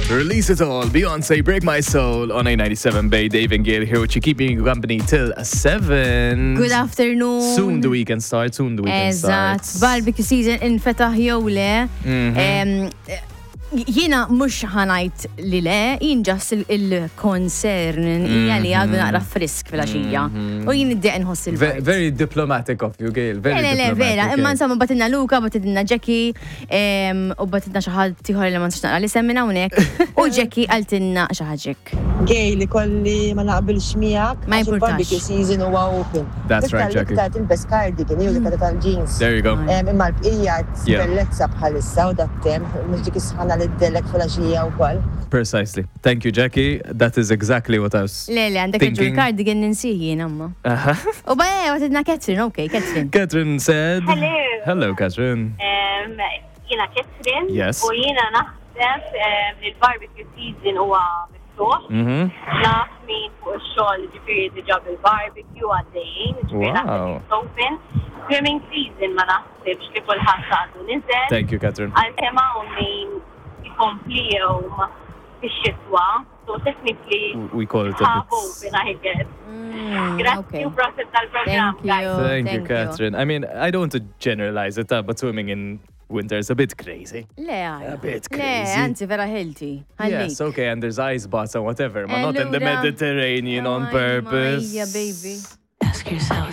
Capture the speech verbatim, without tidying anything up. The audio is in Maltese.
Release it all. Beyonce, Break My Soul on A ninety-seven Bay. Dave and Gail here with you, keeping you company till seven. Good afternoon. Soon the weekend starts. Soon the weekend Eżatt, starts. Barbecue season infetaħ jew le. Mhm. Em, Jiena mhux ħa ngħid li le, jien just il-concern hija li għadu naqra frisk fil-għaxija. U jien id-deq nħoss Ve- il-bard. Very diplomatic of you, Gail. Very Le, le, le, vera, diplomatic, imma eh. insomma bagħtilna Luka, bagħtilna Jackie, em, u bagħtilna xi ħadd ieħor li ma nistax naqra li semmina hawnhekk, u Jackie qaltilna xi ħaġek. Gail, ikolli ma naqbilx miegħek. Ma Għax jimpurtax. il-barbecue season huwa open. That's right, Iktar Jackie. Iktar tilbes cardigan, jew dik tal-jeans. There you go. Em, Imma l-bqija Yeah. bellezza bħalissa u dat-temp, mhux dik is-sħana li ddellek fil-għaxija wkoll. Precisely. Thank you, Jackie. That is exactly what I was Le, le, għandek raġun, thinking. Cardigan ninsih jien amma. Uh-huh. U ba, bagħtilna Catherine, ok, Catherine. Catherine said. Hello. Hello, Catherine. Um, Jiena Catherine. Yes. U jiena naħseb um, li l-barbecue season huwa miftuħ. Mm-hmm. Naf min fuq ix-xogħol ġifieri diġà bil-barbecue għaddejjin, ġifieri Wow. naħseb it's open. Swimming season ma naħsibx li kulħadd għadu niżel. Thank you, Catherine. Għalkemm hawn min ikomplijom fix-xitwa, so technically We call it a half bit. Open, I guess. Mm, Grazzi okay. u prosit tal-programm, Thank you. guys. Thank you, Thank you. Catherine. I mean, I don't want to generalize it, uh, but swimming in winter is a bit crazy. Le, għaj. A bit Le, crazy. anzi, vera healthy. Yes, okay, and there's ice baths and whatever, but not in the Allura. Mediterranean on Ay, purpose. Maja, baby. Ask yourself.